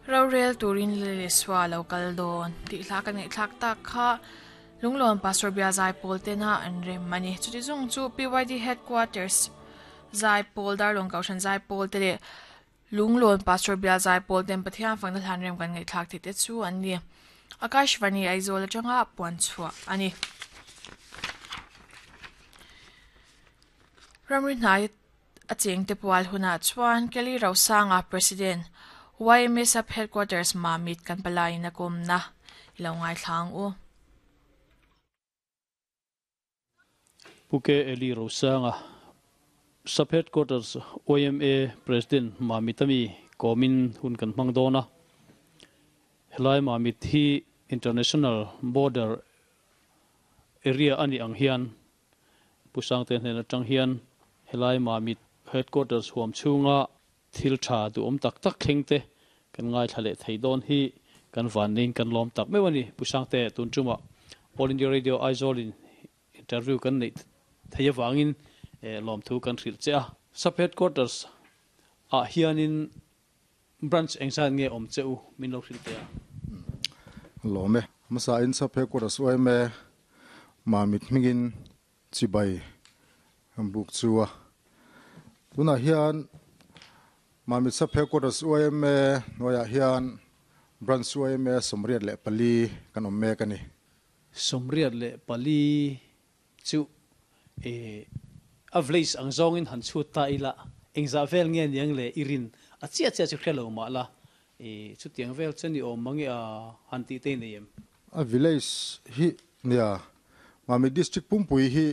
Rorel turin Lily Sua lo kal dawn tih hla kan ngaihthlak tak kha Lunglawn Pastor Bia Zaipawl tena an rem a ni. Chuti zung chu PYD Headquarters Zaipawl, Darlawng Kohhran Zaipawl te leh Lunglawn Pastor Bia Zaipawl ten Pathian fakna hlan rem kan ngaihthlak theih te chu an ni. Akashvani Aizawl atanga puan chhuah a ni. Ramri hnai A chengte pual hunah chuan Kelly Rosanga, President, YMA Sub Headquarters Mamit kan palaiin a kawmna i lo ngaithla ang u. Pu K. Eli Rosanga, Sub Headquarters YMA President Mamit ami kawmin hun kan hmang dawn a. Helai Mamit hi International Border Area a nih ang hian Pu Sangte hnen atang hian helai Mamit Headquarters huam chhunga thil tha duhawm tak tak thleng te kan ngaithla leh thei dawn hi kan vanneiin kan lawm tak meuh a ni. Pu Sangte, tun tumah All India Radio Aizawl in interview kan neih thei avangin lawmthu kan hrilh che a. Sub Headquarters ah hianin Branch engzat nge awm che u min lo hrilh teh a? Lawm e. Hmasa in sap headquarters awm e. Mamit hmingin chibai buk chu a. Tunah hian Mamit sap headquarters awm e hnuaiah hian Branch awm e 84 kan awm mek a ni. 84 Chu e a village ang zawngin han chhut ta ila, engzah vel nge niang le i rin a chiah chiah chu hre lo mah la, e chutiang vel chu ni awm mange a han tih te i nei em? A village hi nia, Mami District pumpui hi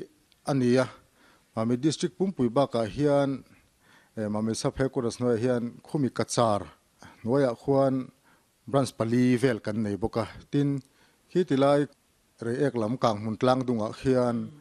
a ni a, Mami District pumpui bakah hian e Mami Sub Headquarters hnuaiah hian khumi Kachar hnuaiah khuan branch pali vel kan nei bawk a, tin khi tilai Reiek lam kang hmun tlang dungah khian.